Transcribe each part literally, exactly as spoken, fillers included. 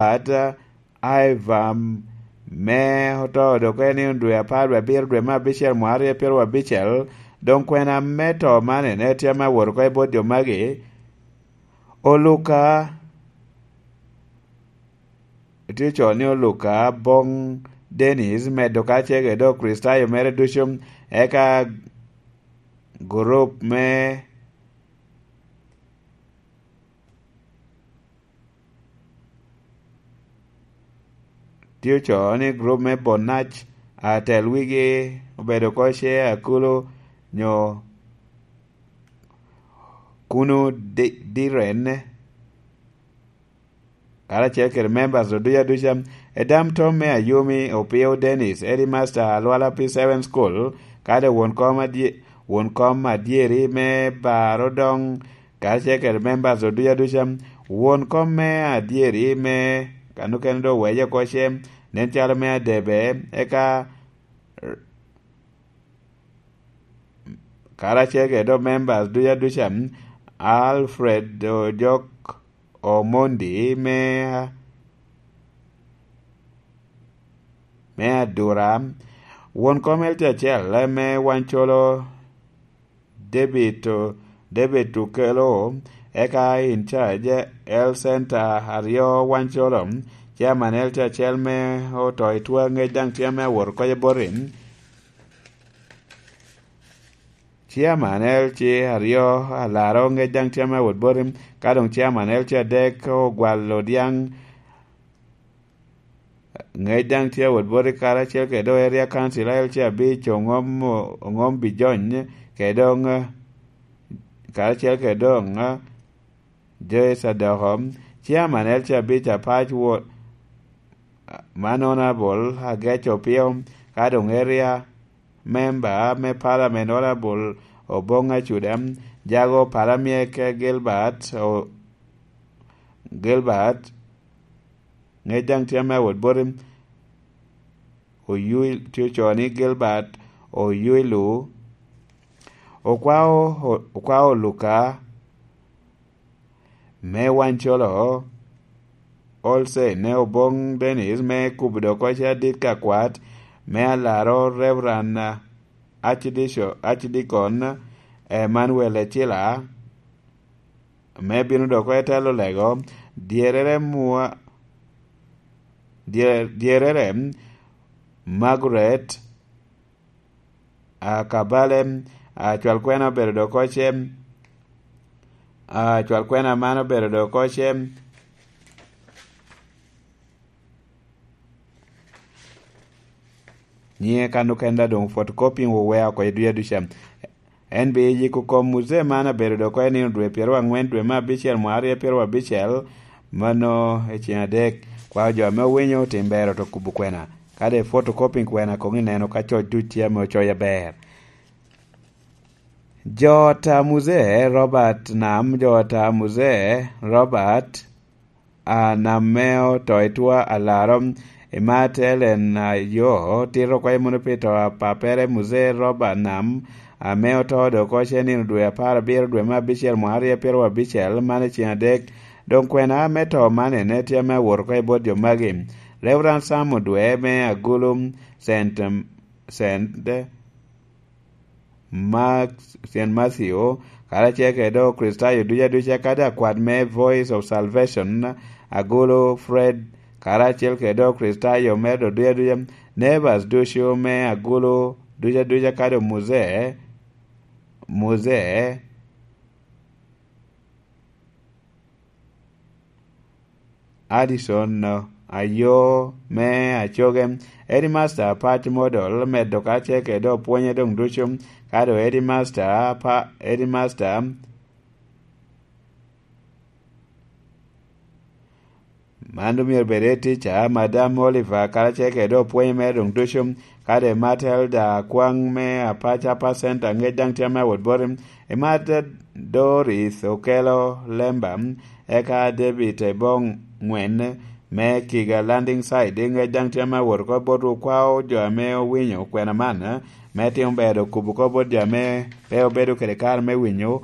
Robert Ivam, me oto dok en i dwe apar wie abiro, dwe me abicel, mwaka aryo pyeraryo abicel. Doŋ kwena me to man ene tye ame awot oko i bot jo magi. Oluka, tye ocoo ni Oluka Boŋ Dennis, medo kacel kede Okricitayo mere ducu, eka gurup me tye ocoo ni gurup me Bonac, atel wigi obedo oko ce Akulu nyo Kunu Di-, Diren, karacel kede members oduc aduca. Edam Tom me Ayumi, Opio Dennis, Eddie Master, Alwala P seven School, kade won kom adye-, won kom adyeri me Baro Doŋ, karacel kede members oduc aduca. Won kom me adyeri me kano kene do wece oko ce, nen calo me Adebe, eka karacel kede dok members duc aduca, Alfred Ojok Omondi me, me Adura, won kom L T acel me Wancolo, David, David Tukelo, eka in charge L Center aryo Wancolo, chairman L T acel me oto i twa ŋec daŋ tye ame awot oko boti. Chairman L C aryo Alaro ŋec daŋ tye ame awot boti, ka doŋ chairman L C adek Ogwal Odyaŋ ŋec daŋ tye awot boti, karacel kede do Area Council L C abic Oŋom, Oŋom Bijony, kede doŋ, karacel kede doŋ Joyce Adoko, chairman L C abic apac wot, man Honorable Agec Opio, ka doŋ Area Member me Parliament Honorable Oboŋ Acuda, jago Palamyek Gilbert, o-, Gilbert, ŋec daŋ tye ame awot boti, Oyui-, tye ocoo ni Gilbert Oyuilu, okwao, okwao Luka me Wancolo, Olsen ne Oboŋ Dennis me kubo dok oce adit ka kwat, me Alaro Reverend Archdico-, Archdeacon Emmanuel Ecila, me bino dok i telo lego, dyerere mwa-, dye-, dyerere Margaret Akabale, acwal kwena obedo dok oce, acwal kwena man obedo dok oce. Nyiŋe kan okenda doŋ photocopying owea oko i dwi aduca. En bi yiko kom muzee man abedo dok oko i nino dwe pyeraryo aŋwen dwe me abicel mwaka aryo pyeraryo abicel, mano i ceng adek. Kwao jo ame owinyo otim ber oto kubo kwena. Kadi photocopying kwena koŋ ineno ka coc duc tye ame ococ aber. Jo ot a muzee Robert Nam, jo ot a muzee Robert a Nam me oto i twa Alaro, Imat Ellen Ayo, tito kwayo mono pi to a papere muzee Robert Nam, ame oto dok oce nino dwe apar abiro dwe me abicel mwaka aryo pyeraryo abicel, man i ceng adek. Doŋ kwena me to man ene tye ame awot oko i bot jo magi. Reverend Sam Odwe me Agulu, Saint, Saint Mark, Saint Matthew, karacel kede Okricitayo ducu aduca, kadi akwat me Voice of Salvation, Agulu Fred, karacel kede Okricitayo me do ducu aduca, neighbors ducu me Agulu ducu aduca, kadi muzee, muzee, Addison Ayo me Acoge, Headmaster Pat Model, medo kacel kede opwonye doŋ ducu, ka doŋ Headmaster pa, Headmaster man doŋ myero bed head teacher, Madam Oliver, karacel kede opwonye mere doŋ ducu, kadi Matilda Akwaŋ me Apacapa Center, ŋec daŋ tye ame awot boti, Imat Doris Okelo Lemba, eka David Ebong Ŋwen me Kiga Landing Site, ŋec daŋ tye ame awot oko botwu. Kwao jo ame owinyo kwena man, me timo ber okubo oko bot jo ame pe obedo kede kare me winyo.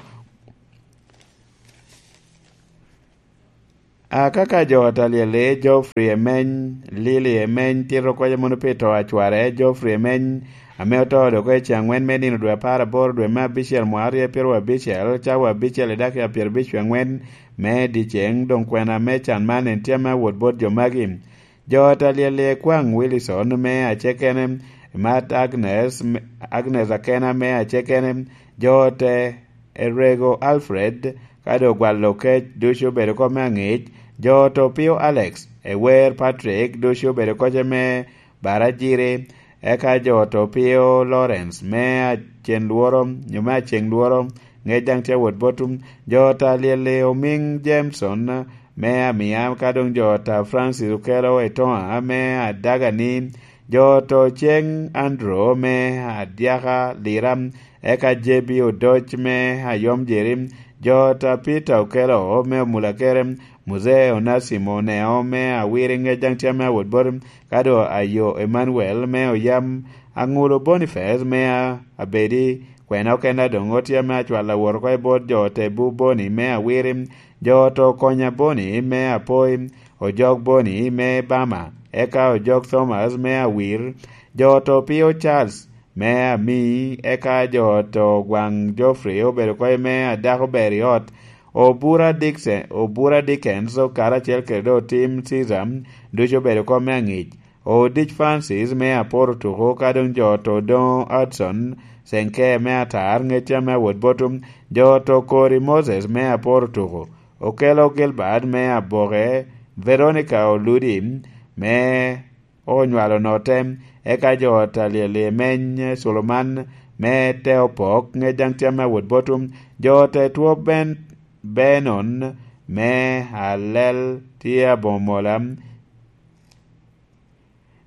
Akaka jo ot alyel-li, Geoffrey Emeny, Lily Emeny, tito kocca mono pi to a cware, Geoffrey Emeny, ame oto dok i ce angwen me nino dwe apar aboro dwe me abicel mwaka aryo pyeraryo abicel, cawa abicel i dakika pyerabic wie angwen me dyeceŋ, doŋ kwena me can man en tye ame awot bot jo magi. Jo ot alyel-li, Ekwaŋ Wilson me Acekene, Mat Agnes, Agnes Akena me Acekene, jo ote Erego Alfred, ka doŋ ogwalo kec ducu obedo kop me aŋic, jo oto Opio Alex, Ewer Patrick ducu obedo kocce me Barajiri, eka jo oto Opio Lawrence me Acen Lworo, nyo me Aceŋ Lworo, ŋec daŋ tye awot botwu, jo oto alyel-li Omiŋ Jameson me Amiam, ka doŋ jo oto Francis Okello Etoŋa me Adagani, jo oto Ceŋ Andrew me Adyaka Lira, eka J B Odoc me Ayom Jeri, jo oto Peter Okello me Omulakere, Muzee Onasimo Oneo me Awiri ŋec daŋ tye ame awot boti, ka doŋ Ayo Emmanuel me Oyam, Aŋulo Boniface me A-, Abedi, kwena okene doŋ otye ame acwalo awot oko i bot jo ote Bu Boni me Awiri, jo oto Konya Boni me Apoi, Ojok Boni me Bama, eka Ojok Thomas me Awir, jo oto Pio Charles me Ami, eka jo oto Gwaŋ Geoffrey obedo kop me Adako Ber i Ot, Obura Dickson, Obura Dickens, karacel kede doŋ Tim Caesar, ducu obedo kop me aŋic. Odic Francis me Aporo Tuko, ka doŋ jo oto Odoŋo Hudson Senke me Atar, ŋec ame awot botwu, jo oto Kori Moses me Aporo Tuko, Okello Gilbert me Aboke, Veronica Oludi me onywalo Note, eka jo ot alyel Emeny Culuman me Teopok, ŋec daŋ tye ame awot botwu, jo ote Two Ben, Benon me Alel tye aboŋo mola,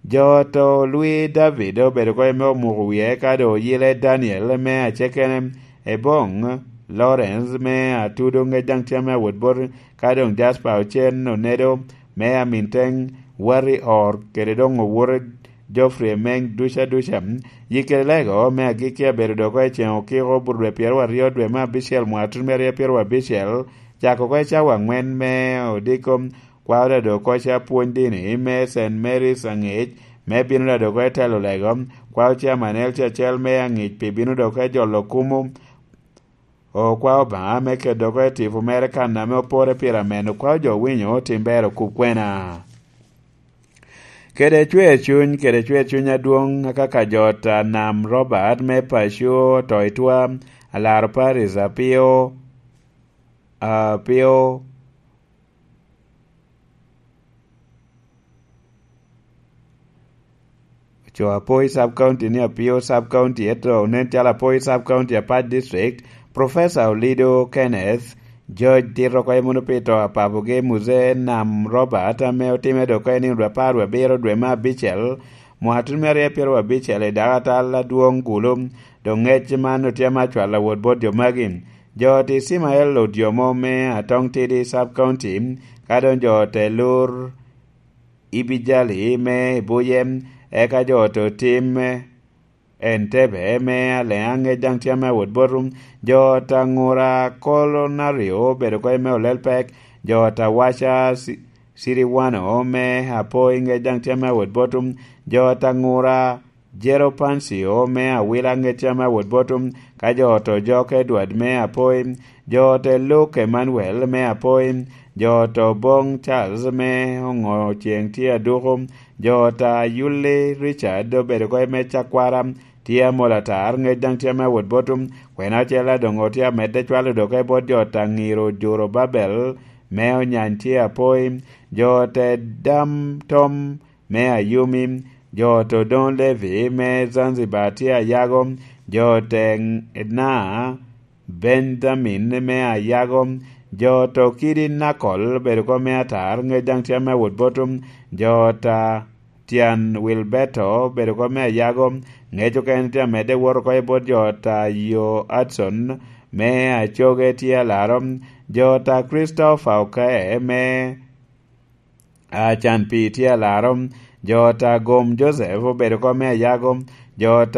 jo oto Lwi David obedo kop me omuko wie, eka doŋ oyile Daniel me Acekene, Eboŋ Lawrence me Atudo, ŋec daŋ tye ame awot boti, ka doŋ Jasper Ocen Onedo me Aminteŋ, Wari Or, kede doŋ owote Geoffrey Emeny duca duca. Yikere Lego me agikki abedo doŋ oko i ceŋ okiko, bur dwe pyeraryo dwe me abicel mwaka tun me aryo pyeraryo abicel, cako oko i cawa aŋwen me odiko, kwao ladok oko ca pwony dini me Saint Mary's aŋic, me bino ladok oko i telo lego, kwao ca manel ca acel me aŋic pi bino dok oko i jolo kumo, okwao Obaŋa me kedo oko i tipo mere kan ame opore pire ameno, kwao jo winyo tim ber okub kwena. Kede cwer cuny, kede cwer cuny adwoŋ, akaka jo ot a Nam Robert me paco oto i twa, alaro Paris apio, apio, Oco Apoi Sub County ni Apio Sub County, ento onen calo Apoi Sub County apat district. Professor Olido Kenneth, George tito oko i muno pi to a papogi, Muzee Nam Robert, ame otime dok oko i nino dwe apar wie abiro dwe me abicel, mwaka tun me aryo pyeraryo abicel, i dako atal adwoŋ Gulu. Doŋ ŋec man otye ame acwalo awot bot jo magi. Jo ot Icimael Odyomo me Atong Tidi Sub County, ka doŋ jo ot Elur Ibijali me Ibuye, eka jo ot Otim Entebe me Aleaŋ ŋec daŋ tye ame awot botwu, jo ot Aŋura Kolonaryo obedo oko i me Olelpek, jo ot Awaca Ci-, Ciriwano me Apoi ŋec daŋ tye ame awot botwu, jo ot Aŋura Jero Pancio me Awila ŋec tye ame awot botwu, ka jo ot Ojok Edward me Apoi, jo ot Luke Emmanuel me Apoi, jo ot Oboŋ Charles me Oŋo Ceŋ tye aduko, jo ot Ayuli Richard obedo oko i me Cakwara, tye amol atar, ŋec daŋ tye ame awot botwu, kwena ocel adoŋo tye amedde cwalo dok i bot jo ot Aŋiro Juro Babel me Onyany tye Apoi, jo ot Dam Tom me Ayumi, jo ot Odoŋo Levi me Zanzibar tye ayago, jo ot Edna Benjamin me ayago, jo ot Okidi Nakol obedo oko me atar, ŋec daŋ tye ame awot botwu, jo ot Tyan Wilberto obedo oko me ayago, ŋec okene tye amedde wot oko i bot jo ot Ayo Hudson me Acoge tye alaro, jo ot Christopher Okae me Acan Pii tye alaro, jo ot Agom Joseph obedo oko me ayago, jo ot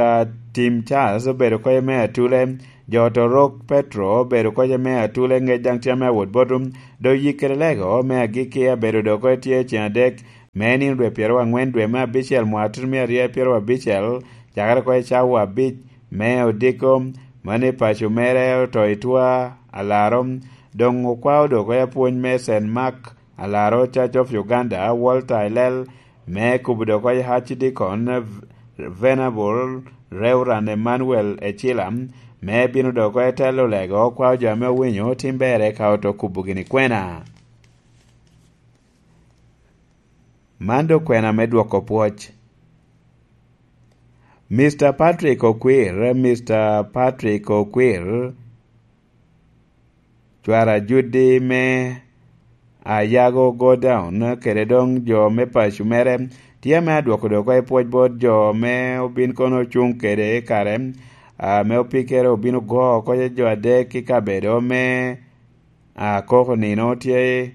Tim Charles obedo oko me Atule, jo ot Orok Petro obedo oko me Atule, ŋec daŋ tye ame awot botwu, Doŋ yik kede lego me agikki abedo dok oko tye ceŋ adek, me nino dwe pyeraryo aŋwen dwe me abicel mwaka tutumia aryo pyeraryo abicel, cakere oko i cawa abic me odiko, mano i paco mere oto i twa alaro. Doŋ okwao dok oko apwony me Saint Mark alaro Church of Uganda, Walter Elel, me kubo dok oko i Archdeacon, Venerable Reverend Emmanuel Ecila, me bino dok oko i telo lego, okwao jo ame owinyo tim berre ka oto kubo gini kwena. Man doŋ kwena me dwoko pwoc. Mister Patrick Okwir, Mister Patrick Okwir, cwara Judi me Ayago Godown, kede doŋ jo me paco mere, tye ame adwoko dok oko i pwoc bot jo me obin kono ocuŋ kede i kare, ame opikere obino go oko jo adek i kabedo me akoko nino tye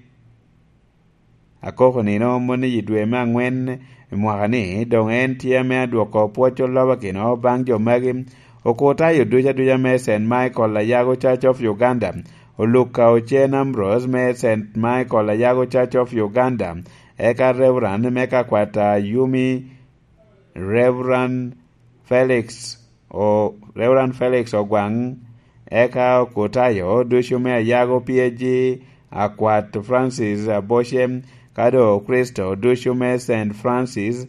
akoko nino moni i dwe me aŋwen i mwaka ni, doŋ en tye ame adwoko pwoc olobakino baŋ jo magi. Okutayo duca duca me Saint Michael Ayago Church of Uganda, Oluka Ochen Ambrose me Saint Michael Ayago Church of Uganda, eka Reverend me kakwat a Yumi, Reverend Felix o Reverend Felix Ogwaŋ, eka Okutayo ducu me Ayago P A G, akwat Francis Aboce, ka doŋ Okristo ducu me Saint Francis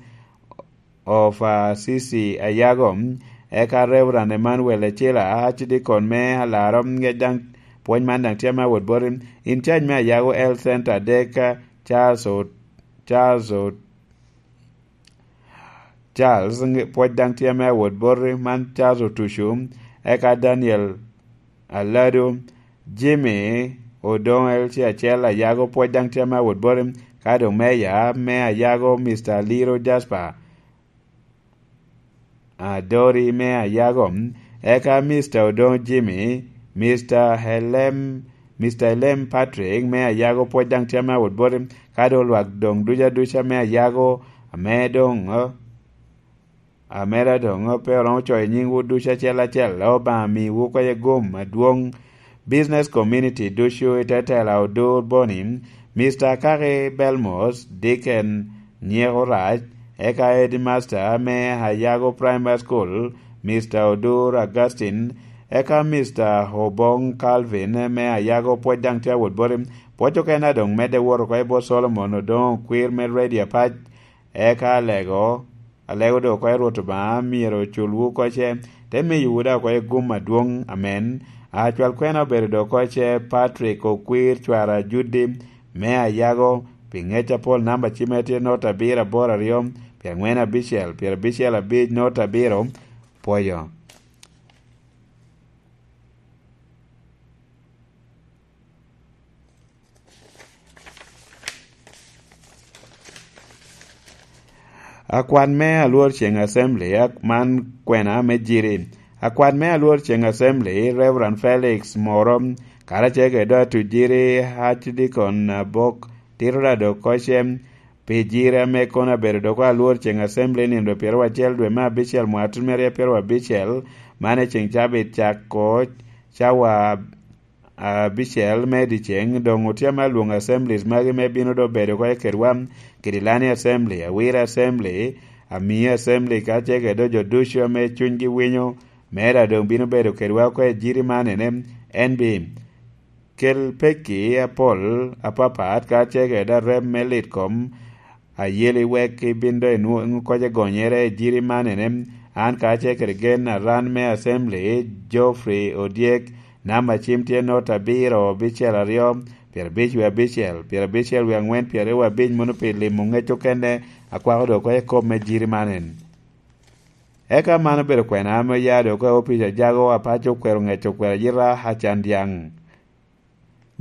of Assisi Ayago, eka Reverend Emmanuel Ecila, Archdeacon me Alaro, ŋec daŋ pwony man daŋ tye ame awot boti, in cac me Ayago Health Center adek, Charles O-, Charles O-, Charles, ŋe-, pwoc daŋ tye ame awot boti, man Charles Otucu, eka Daniel Alado, Jimmy Odong L C acel Ayago, pwoc daŋ tye ame awot boti, ka doŋ meya me Ayago, Mister Liro Jasper Adori me Ayago, eka Mister Odong Jimmy, Mister Helem, Mister Helem Patrick me Ayago, pwoc daŋ tye ame awot boti, ka doŋ lwak doŋ duca duca me Ayago, ame doŋ, ame da doŋ pe oromo coyo nyingwu ducu acel acel, Obaŋa miwu kece gum adwoŋ. Business community ducu i te tela Odur Boni, Mister Kaki Belmos, Deacon Nyeko Rac, eka Headmaster me Ayago Primary School, Mister Odur Augustine, eka Mister Obong Calvin me Ayago, pwoc daŋ tye awot boti. Pwoc okene a doŋ medde wot oko i bot Solomon Odongo Kwir me Radio Apac, eka alego, alego doŋ oko i Rwot Obaŋa myero oculwu oko ce, te miyowu daŋ oko i gum adwoŋ. Amen. Acwal kwena obedo doŋ oko ce Patrick Okwir, cwara Judi me Ayago, pi ŋec apol, namba cimme tye not abiro aboro aryo, pyeŋwen abicel, pyerabicel abic, not abiro. Pwoyo. Akwat me Alwor Ceŋ Assembly, ak-, man kwena me Jiri. Akwat me Alwor Ceŋ Assembly, Reverend Felix Moro, karacel kede doŋ Atujiri Archdeacon Abok, tito da doŋ oko ce pi Jiri ame kono abedo doŋ oko Alwor Ceŋ Assembly nino pyeraryo acel dwe me abicel mwaka tutumia aryo pyeraryo abicel, man i ceŋ cabit cako cawa abicel me dyeceŋ, doŋ otye ame alwoŋo assemblies magi me bino doŋ bedo oko i kedwa, Kidilani Assembly, Awira Assembly, Amii Assembly, ka ce kede doŋ jo ducu ame cunygi winyo, me da doŋ bino bedo kedwa oko i Jiri man ene, en bi kel pekki apol apapat, ka ce kede arem me lit kom, ayeli wek ibin doŋ inwoŋ koc agonyere i Jiri man ene, an kacel kede gen aran me Assembly, Geoffrey Odyek, namba cim tye not abiro abicel aryo, pyerabic wie abicel, pyerabicel wie aŋwen, pyeraryo wie abic, mono pi limo ŋec okene, akwako doŋ oko i kop me Jiri man en. Eka man obedo kwena ame oya doŋ oko i opic a Jago Apaco Okwero Ŋec Okwero Ayita Acan Dyaŋ.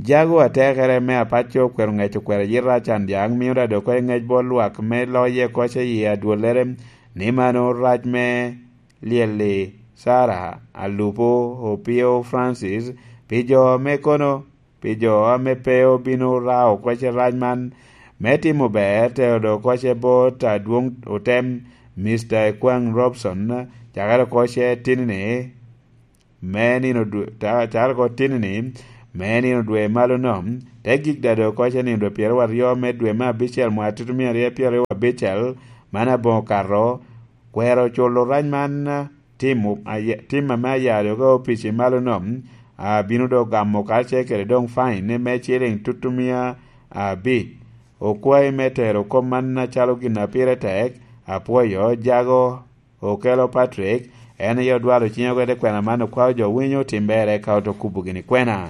Jago atekere me Apaco Okwero Ŋec Okwero Ayita Acan Dyaŋ mio da doŋ oko i ŋec bot lwak me loye koc i adwollere, ni mano rac me lyel-li Sara Alupo Opio Francis, pi jo ame kono, pi jo ame pe obino rao koc i rac man, me timo ber, tero doŋ koc i bot adwoŋ otem, Mister Ekwaŋ Robson, cakere koc i tinni, me nino dwe, ta-, cakere oko tinni-ni, me nino dwe malo nom, te gik dado koca nino dwe pyeraryo me dwe me abicel mwaka tutumia aryo pyeraryo abicel, man aboŋo kato, kwero culo rac man, tim, tim ame ayalo ka opic i malo nom, abino do gamo karacel kede doŋ fine me ciliŋ tutumia abic. Okwayi me tero kop man acalo gin a pire tek, apwoyo jago. Okelo Patrick, en aye odwalo cinyo kwede kwena man okwao jo winyo tim bere ka oto kubo gini kwena.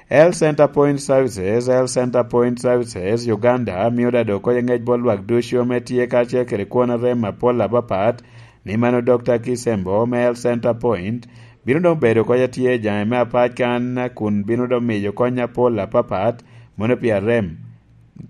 Health Center Point Services, Health Center Point Services Uganda mio dado kodi ngec bot lwak ducu ame tye kacel kede kwon arem apol apapat, ni mano Dokta Kisembo me Health Center Point bino doŋ bedo kodi atye jaŋe me apac kan kun bino doŋ miyo kony apol apapat, mono pi arem.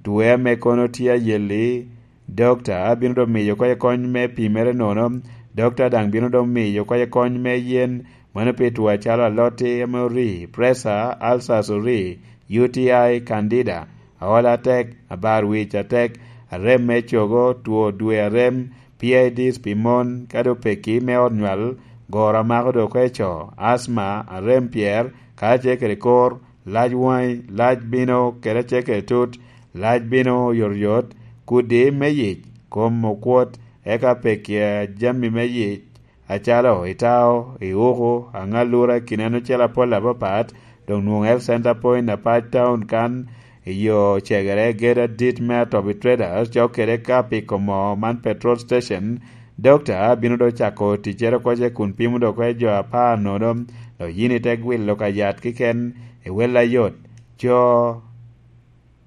Tuwe ame kono tye ayelli, dokta bino doŋ miyo kodi kony me pimere nono, dokta daŋ bino doŋ miyo kodi kony me yen, mano pi tuo acalo aloti ame ori, preca, alcas ori, U T I, candida, aola atek, abar wic atek, arem me cogo, tuo dwe arem, P I Ds pi mon, ka doŋ peki me ot nywal, goro amako doŋ oko i co, asma, arem pyer, kacel kede kor, lac waŋi, lac bino kede acel kede tut, lac bino oyotoyot, kudi me yic, kom okwot, eka peki a jami me yic, acalo itao, iuku, aŋalura, kineno cel apol apapat, doŋ nwoŋo Health Center Point apac taun kan, i yo cegere gedo adit me Atobi Traders, cok kede ka piko moo man petrol station, dokta bino doŋ cako ticcere oko ce kun pimo doŋ oko i jo apar nono, dok yin ite gwilo ka yat kiken i wel ayot. Co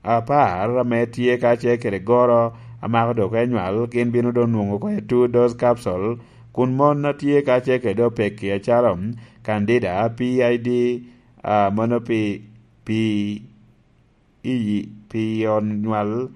apar ame tye kacel kede goro amako doŋ oko i nywal, gin bino doŋ nwoŋo oko i two dose capsule, kun mon a tye kacel kede opeki acalo candida, P I D, a, mono pi, pi, i, pi onywal,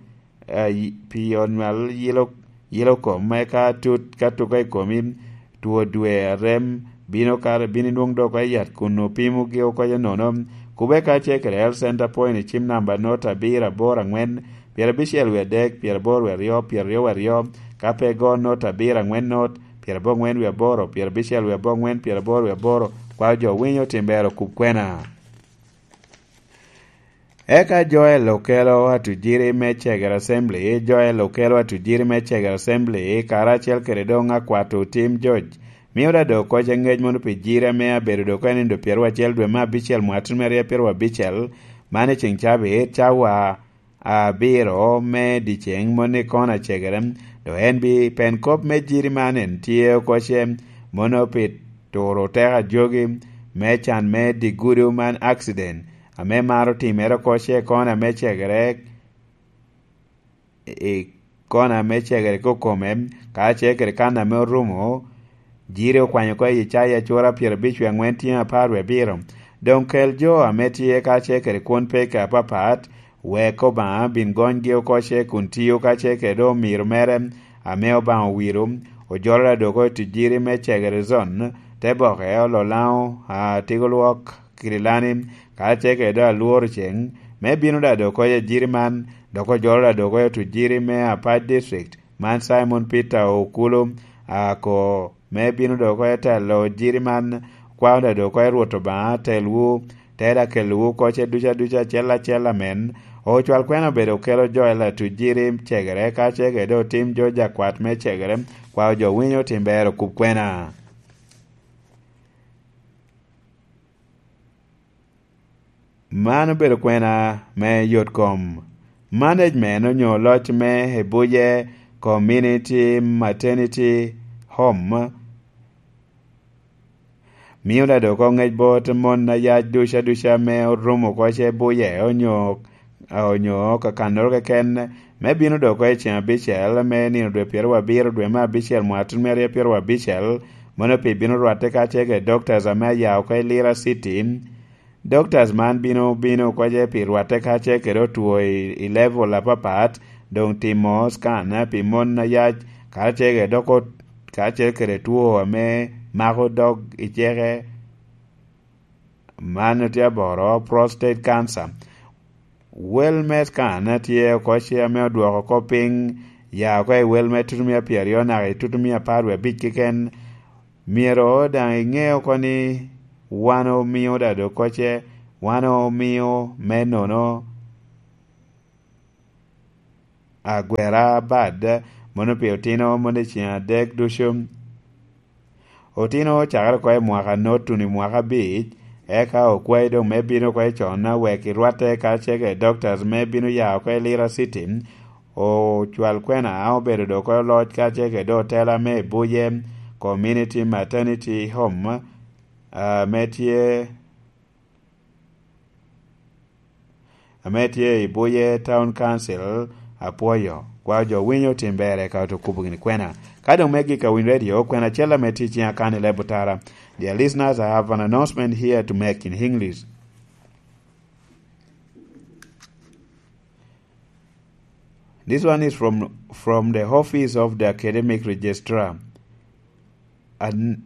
a, i, pi onywal yilo, yilo kom, eka tut ka tuko i komi, two dwe arem, bino kare, bino inwoŋ doŋ oko i yat kun opimogi oko i nono. Kubbe kacel kede Health Center Point i cim namba not abiro aboro aŋwen, pyerabicel wie adek, pyeraboro wie aryo, pyeraryo wie aryo, ka pe go not abiro aŋwen not, pyeraboro aŋwen wie aboro, pyerabicel wie aboro aŋwen, pyeraboro wie aboro, kwao jo winyo tim ber okub kwena. Eka Joel okelo atujiri me Cegere Assembly, Joel okelo atujiri me Cegere Assembly, karacel kede doŋ akwato Tim George. Mio da doŋ koc aŋec mono pi jiri ame abedo doŋ oko i nindo pyeraryo acel dwe me abicel mwaka tutumia aryo pyeraryo abicel, man i ceŋ cabit, cawa abiro me dyeceŋ, mono i kona Cegere. Doŋ en bi pen kop me jiri man en tye oko ce, mono pi turo teko ajogi me can me digudo man accident, ame maro timere oko ce i kona me Cegere, i kona me Cegere kokome, kacel kede kan ame orumo, jiri okwanyo oko i Icaya cura pyerabic wie aŋwen tyen apar wie abiro. Doŋ kel jo ame tye kacel kede kwon peke apapat, wek Obaŋa bin gonygi oko ce kun tio kacel kede omiro mere ame Obaŋa owiro, ojolo da doŋ oko i tujiri me Cegere Zone, te boke, Ololaŋo, a, Tigo Lwok, Kirilani, kacel kede doŋ Alworo Ceŋ, me bino da doŋ oko i ajiri man, dok ojolo da doŋ oko i otujiri me Apac District, man Simon Peter Okulu, a, ko, me bino doŋ oko i telo jiri man, kwao da doŋ oko i Rwot Obaŋa, telwu, te da kelowu oko ce ducu aducu acel acel amen. Ocwal kwena obedo okelo jo i latujiri Cegere, kacel kede doŋ Tim George akwat me Cegere, kwao jo winyo tim ber okub kwena. Man obedo kwena me yot kom. Management onyo loc me Ebuje Community Maternity Home mio da doŋ oko ŋec bot mon a yac ducu aduca ame orumo oko ce Ebuje onyo, onyo kakannoro keken, me bino doŋ oko i ceŋ abicel me nino dwe pyeraryo abiro dwe me abicel mwaka tutumia aryo pyeraryo abicel, mono pi bino rwatte kacel kede doctors ame aya oko i Lira City. Doctors man bino, bino oko ce pi rwatte kacel kede otwo i, i level apapat, doŋ timo scan pi mon a yac, kacel kede dok ot-, kacel kede two ame mako dog i ceke, man tye aboro, prostate cancer. Wel me scan tye oko ce ame odwoko oko piny, ya oko i wel me tutumia pyeraryo naka i tutumia apar wie abic keken. Myero daŋ iŋe oko ni wan omio da dok kocce, wan omio me nono agwera bad, mono pi otino mono i ceng adek ducu. Otino cakere oko i mwaka notuni mwaka abic, eka okwayi doŋ me bino oko i con, wek irwatte kacel kede doctors me bino ya oko i Lira City. Ocwal kwena obedo doŋ oko loc kacel kede otela me Ibuye Community Maternity Home, ame tye, ame tye i Ibuye Town Council. Apwoyo. Kwa jo winyo tim ber eka oto kubo gini kwena. Ka doŋ me gik a winy radio, kwena acel ame tye i ciŋa kan i leb otara. Dear listeners, I have an announcement here to make in English. This one is from, from the office of the academic registrar. And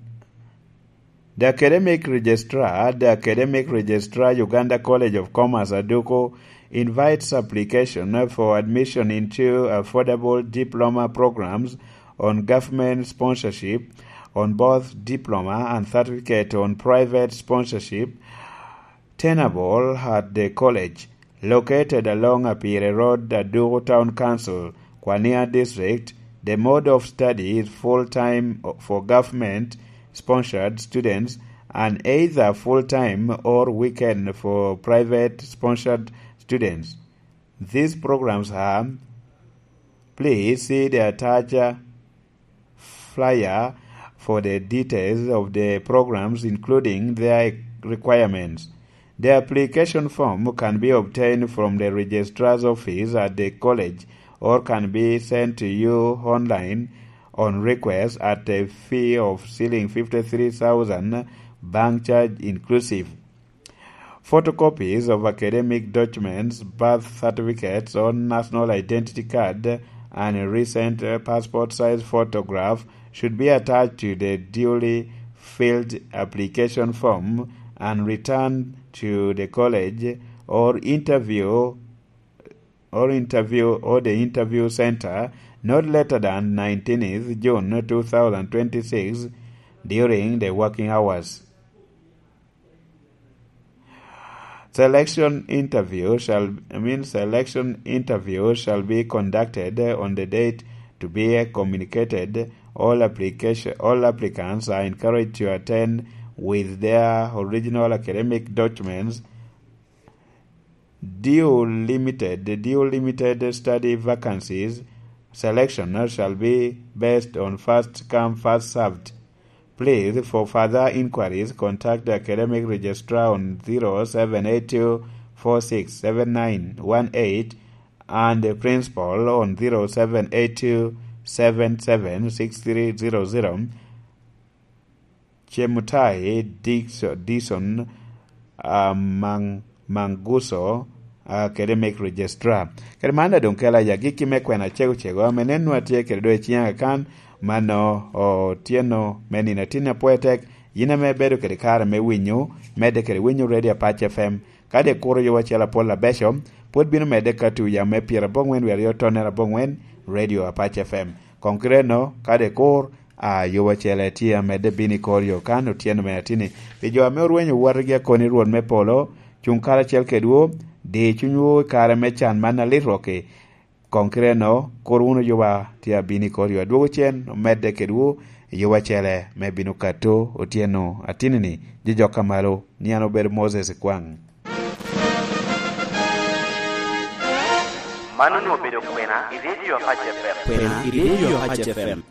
the academic registrar, the academic registrar, Uganda College of Commerce, Aduku, invites application for admission into affordable diploma programs on government sponsorship, on both diploma and certificate on private sponsorship, tenable at the college located along Apire Road, Aduku Town Council, Kwania District. The mode of study is full-time for government-sponsored students and either full-time or weekend for private-sponsored students. These programs are, please see the attached flyer for the details of the programs, including their requirements. The application form can be obtained from the registrar's office at the college or can be sent to you online on request at a fee of shilling fifty-three thousand, bank charge inclusive. Photocopies of academic documents, birth certificates or national identity card, and recent, uh, passport size photograph should be attached to the duly filled application form and returned to the college or interview, or interview, or the interview center not later than nineteenth June two thousand twenty-six during the working hours. Selection interview shall, I mean, selection interview shall be conducted on the date to be communicated. All application, all applicants are encouraged to attend with their original academic documents. Due limited, due limited study vacancies, selection shall be based on first come, first served. Please, for further inquiries, contact the academic registrar on zero seven eight two four six seven nine one eight and the principal on zero seven eight two seven seven six three zero zero. Chemutai Dixo-, Dixon, ah, Mang-, Manguso, ah, academic registrar. Kede man doŋ kela ya gikki me kwena cego cego, ame nen nwa tye kede doŋ i ciŋa kan, mano otyeno me nino atin apwoyo tek, yin ame ibedo kede kare me winyo, medde kede winyo Radio Apac F M. Kadi kuro yo acel apol abeco, pwod bino medde ka tuya me pyerabongwen wiye aryo tonnere abongwen, Radio Apac F M. Koŋ kite eno, kadi kur, a, yo acel tye amedde bino i kor yo kan otyeno me atini. Pi jo ame orwenyo watigi akoni Rwot me polo, cuŋ karacel kedwu, di cunywu i kare me can man alit rokki. Koŋ kite eno, kur wunu yuba tye abino i kor yo adwogo cen, omedde kedwu i yuba acele me bino kato otyeno atini-ni, jojok ka malo, ni an obedo Moses Kwaŋ. Man onwoŋo obedo kwena i Radio Apac F M. Kwena i Radio Apac F M.